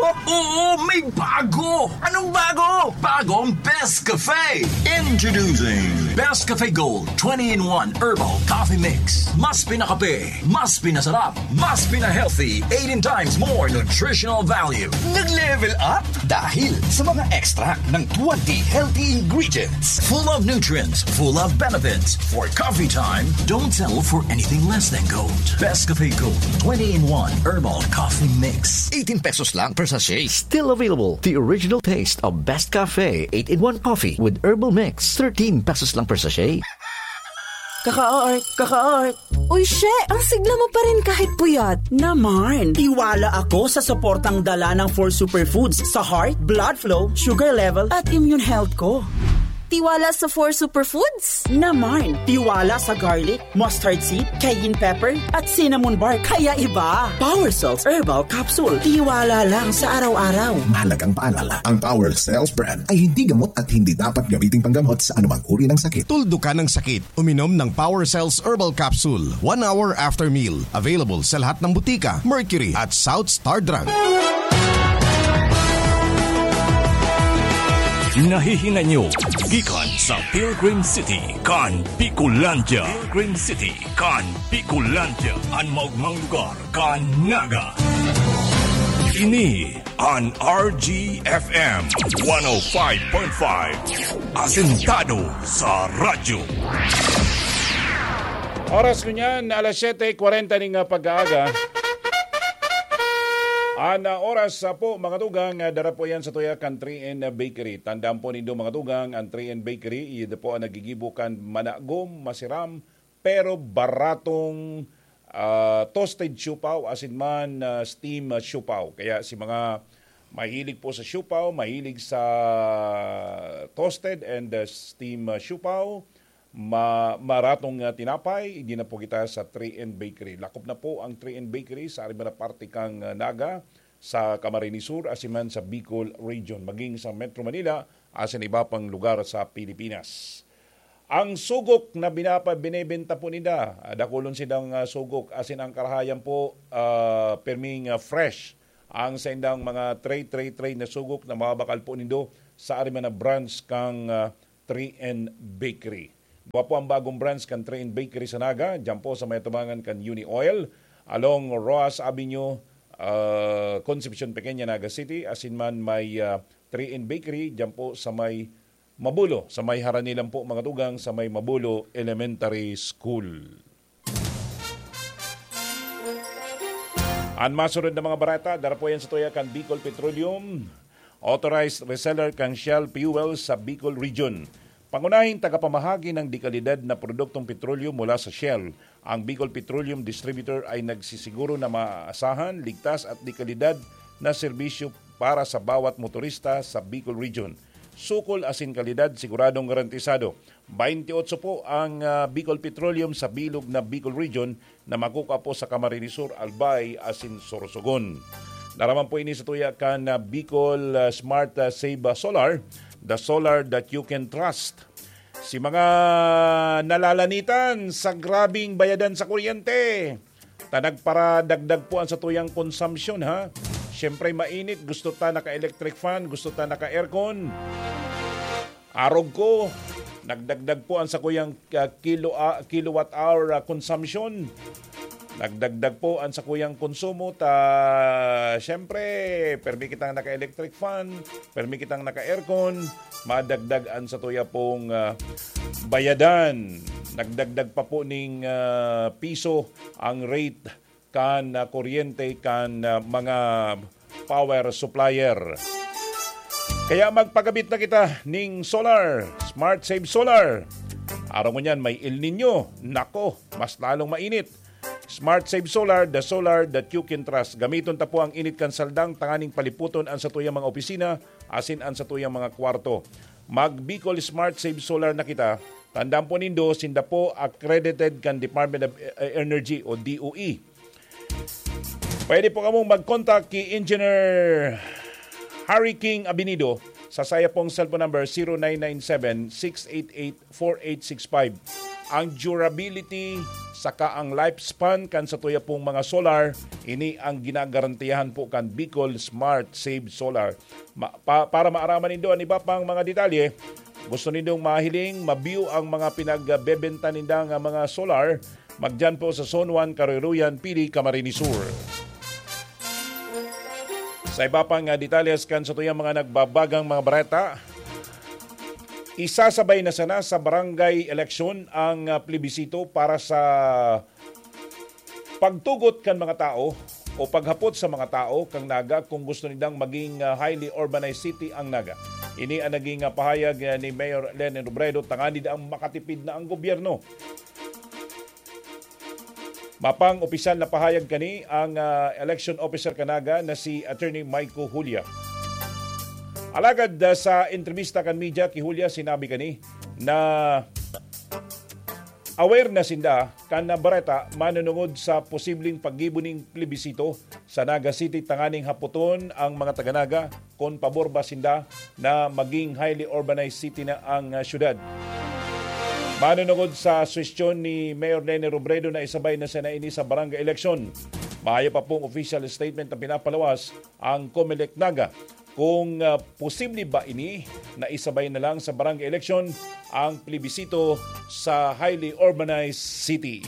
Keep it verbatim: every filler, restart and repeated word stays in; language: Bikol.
Oo, may bago! Anong bago? Bagong Best Cafe! Introducing Best Cafe Gold twenty-in-one Herbal Coffee Mix. Mas pinakape, mas pinasarap, mas pinahealthy, eighteen times more nutritional value. Nag-level up dahil sa mga extract ng twenty healthy ingredients. Full of nutrients, full of benefits. For coffee time, don't settle for anything less than gold. Best Cafe Gold twenty-in-one Herbal Coffee Mix. Eighteen pesos lang per sachet. Still available. The original taste of Best Cafe eight-in-one coffee with herbal mix. Thirteen pesos lang per sachet. Kaka-art, kaka-art. Uy, she! Ang sigla mo pa rin kahit puyat. Naman, tiwala ako sa suportang dala ng four superfoods sa heart, blood flow, sugar level, at immune health ko. Tiwala sa four superfoods? Naman, tiwala sa garlic, mustard seed, cayenne pepper, at cinnamon bark. Kaya iba. Power Cells Herbal Capsule. Tiwala lang sa araw-araw. Mahalagang paalala, ang Power Cells brand ay hindi gamot at hindi dapat gamiting panggamot sa anumang uri ng sakit. Tuldukan ang sakit. Uminom ng Power Cells Herbal Capsule one hour after meal. Available sa lahat ng butika, Mercury at South Star Drug. Nahihinay nyo gikan sa Pilgrim City kan Bicolandia. Pilgrim City kan Bicolandia, an maogmang lugar kan Naga. Ini an R G F M one oh five point five, asentado sa radyo. Oras ko niyan, alas siyete kwarenta ning, ah, pag-aaga. An, ah, oras, ah, po, mga tugang, ah, dara po yan sa tuya kan three N Bakery. Tandaan po nindo, mga tugang, ang three N Bakery, iyo po ang nagigibo kan managom, masiram, pero baratong, ah, toasted siopao, asin man, ah, steam, ah, siopao. Kaya si mga mahilig po sa siopao, mahilig sa toasted and, ah, steam, ah, siopao, ma-, maratong, ah, tinapay, igdi na po kita sa three N Bakery. Lakop na po ang three N Bakery sa ari man na parte kan, ah, Naga, sa Camarines Sur, asin man sa Bicol Region, maging sa Metro Manila, asin iba pang lugar sa Pilipinas. Ang sugok na binapa-, binebenta po ninda, ah, dakulon sindang, ah, sugok, asin ang karahayan po, ah, perming, ah, fresh. Ang saindang mga tray, tray, tray na sugok na mabakal po nindo sa ari man na branch kan, ah, three N Bakery. Duwa po ang bagong branch kan three N Bakery sa Naga, diyan po sa may atubangan kan Uni Oil, along Roxas Avenue, ah, Concepcion Pequeña, Naga City, asin man may, ah, three N Bakery, diyan po sa may Mabulo, sa may haranilan po, mga tugang, sa may Mabulo Elementary School. Ang masunod na mga barata, dara po yan sa tuya kan Bicol Petroleum, authorized reseller kan Shell Fuel sa Bicol Region. Pangunahing tagapamahagi ng dekalidad na produktong petrolyo mula sa Shell, ang Bicol Petroleum Distributor ay nagsisiguro na maaasahan, ligtas at dekalidad na serbisyo para sa bawat motorista sa Bicol Region. Sukol asin kalidad siguradong garantisado. Twenty-eight po ang, ah, Bicol Petroleum sa bilog na Bicol Region na makukua po sa Camarines Sur, Albay asin Sorsogon. Dara man po ini sa tuya kan, ah, Bicol, ah, Smart, ah, Save, ah, Solar, the solar that you can trust. Si mga nalalanitan sa grabing bayadan sa kuryente, ta nagparadagdag po ang satuyang konsumpsyon, ha? Siyempre, mainit, gusto ta naka-electric fan, gusto ta naka-aircon. Arog ko, nagdagdag po ang sakuyang, ah, kilo-, ah, kilowatt hour, ah, consumption. Nagdagdag po ang sakuyang konsumo, ta siyempre, permi kitang naka-electric fan, permi kitang naka-aircon, madagdag ang satuya pong, ah, bayadan. Nagdagdag pa po ning, ah, piso ang rate kan, ah, kuryente kan, ah, mga power supplier. Kaya magpagabit na kita ning solar, Smart Save Solar. Araw ngunyan, may El Niño. Nako, mas lalong mainit. Smart Save Solar, the solar that you can trust. Gamiton ta po ang init kan saldang tanganing paliputon ang satuyang mga opisina asin ang satuyang mga kwarto. Mag Bicol Smart Save Solar na kita. Tandaan po nindo, sinda po accredited kan Department of, eh, Energy o D O E. Pwede po kamong mag-contact ki Engineer Harry King Abinido sa saya pong cellphone number, zero nine nine seven, six eight eight, four eight six five. ang durability saka ang lifespan kan satuya pong mga solar, ini ang ginagarantiyahan po kan Bicol Smart Save Solar. Ma- pa- para maaraman nindo an iba pang mga detalye, gusto nindong mahiling, ma-view ang mga pinagbebenta ninda nga mga solar, magdiyan po sa Zone one, Karuruyan, Pili, Camarines Sur. Sa iba pang, ah, detalles kan satuyang mga nagbabagang mga bareta, isasabay na sana sa barangay eleksyon ang, ah, plebisito para sa pagtugot kan mga tao o paghapot sa mga tao kan Naga kung gusto nindang maging, ah, highly urbanized city ang Naga. Ini ang naging, ah, pahayag, ah, ni Mayor Leni Robredo tanganing makatipid na ang gobyerno. Mapang opisyal na pahayag kani ang, ah, election officer kan Naga na si Attorney Maiko Julia. Alagad, ah, sa entrebista kan media ki Julia, sinabi kani na aware na sinda kan bareta manunungod sa posibleng paggibo ning plebisito sa Naga City tanganing hapoton ang mga taga-Naga kun pabor ba sinda na maging highly urbanized city na ang, ah, syudad. Manunungod sa suhestyon ni Mayor Leni Robredo na isabay na sana ini sa barangay eleksyon, mayo pa pong official statement na pinapalawas ang Comelec Naga kung, ah, posible ba ini na isabay na lang sa barangay eleksyon ang plebisito sa highly urbanized city.